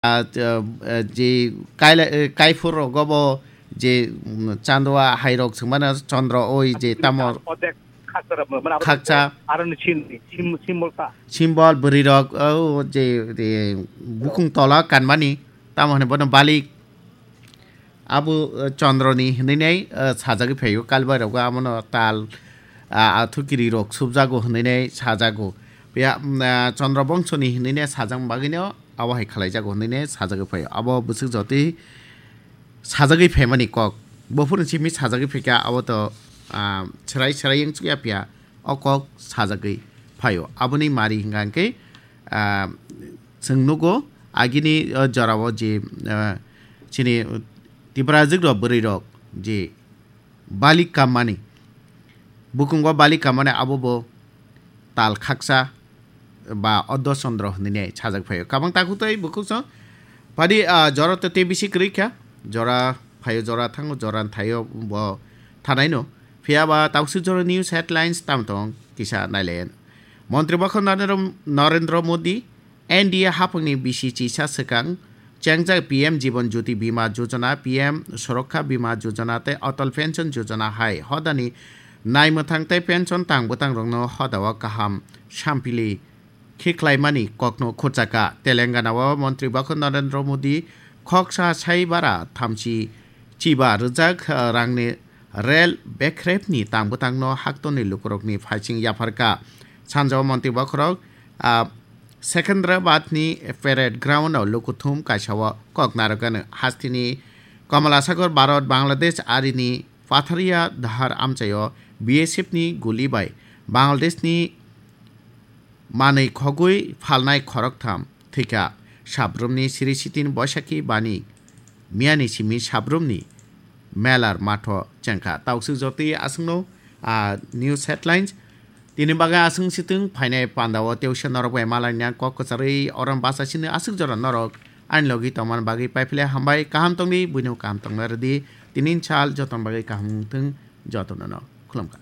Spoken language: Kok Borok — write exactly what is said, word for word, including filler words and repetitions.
ah, ah, ah, je kaila, eh, kaiphur rogo bo je, mm, chandua hai rok swngmano chondro oi je tamo Odek khaksa rok mano, mano khaksa. Aro ni sim, sim, simbol sa. Simbol bwrwi rok, oh, je, je bukung tola kanmani, tamo hwnwi bono balik. Abo, eh, chondroni hwnwi nai, eh, sajagwi phaio, kalbai rogo amono tal, ah, athukiri rok subjago hwnwi nai sajago. Phiya, mm, ah, chondro bongsoni hwnwi nai sajak bagwino abo hai khlaijago hwnwi nai sajagwi phaio. Abo bwswk jotwi sajagwi phaimani kok. Buphurni simi sajagwi phaikha, abo to, ah, chwrai chwrai wng chukya phiya, o kok sajagwi phaio. Aboni mari hwnka hwnkhe, ah, chwng nugo agini, ah, jorao je, ah, chini Tiprajwk rok bwrwi rok je balik kammani, bukungo balik kammani abo bo tal khaksa ba Oddo Chandra hwnwi nai sajak phaio. Kabang takhuk tei bukhuk song padi, ah, jora to tei bisi kwrwi kha. Jora phaio, jora thango, jora thaio bo thanaino. Phiya ba takswk jora news headlines tam tong kisa nailayan. Montri Bakho Narendra, Narendra Modi, N D A haphangni bisi chisa swkang chengjak P M Jiban Jyoti Bima Yojana, P M Suraksha Bima Yojana tei Atal Pension Yojana hai hodani naimwthang tei pension tang bwtangrokno hodao kaham sampili khiklaimani kokno khurchaka. Telengana o Montri Bakho Narendra Modi khoksa sai bara thamchi chiba rwjak, eh, rangni rel bekrepni tang bwtangno haktorni lukurokni phaising yapharkha. Sanjao Montri Bakhorok, ah, Secunderabadni Parade Ground-o lukuthum kaisao kok narwkgano. Hasteni Kamala Sagar Bharat Bangladesh arini Patharia Dahar amchaio B S F ni guli bai Bangladeshni manwi khogwi phalnai khoroktham thwikha. Sabrumni siri sitin Boisakhi bani miyani simi sabrumni melar matho chengkha. Tausuk jotwi aswkno, ah, news headlines. Tini bagwi aswk sitwng phainai pandao teusya norok bai malaina kok kwcharwi orom basa sini aswk jora norok ani logi tongmani bagwi paiphle hambai. Kaham tongdi, buino kaham tongna rwdi. Tini sal joton bagwi kaham wngthwng jotono no khulumkha.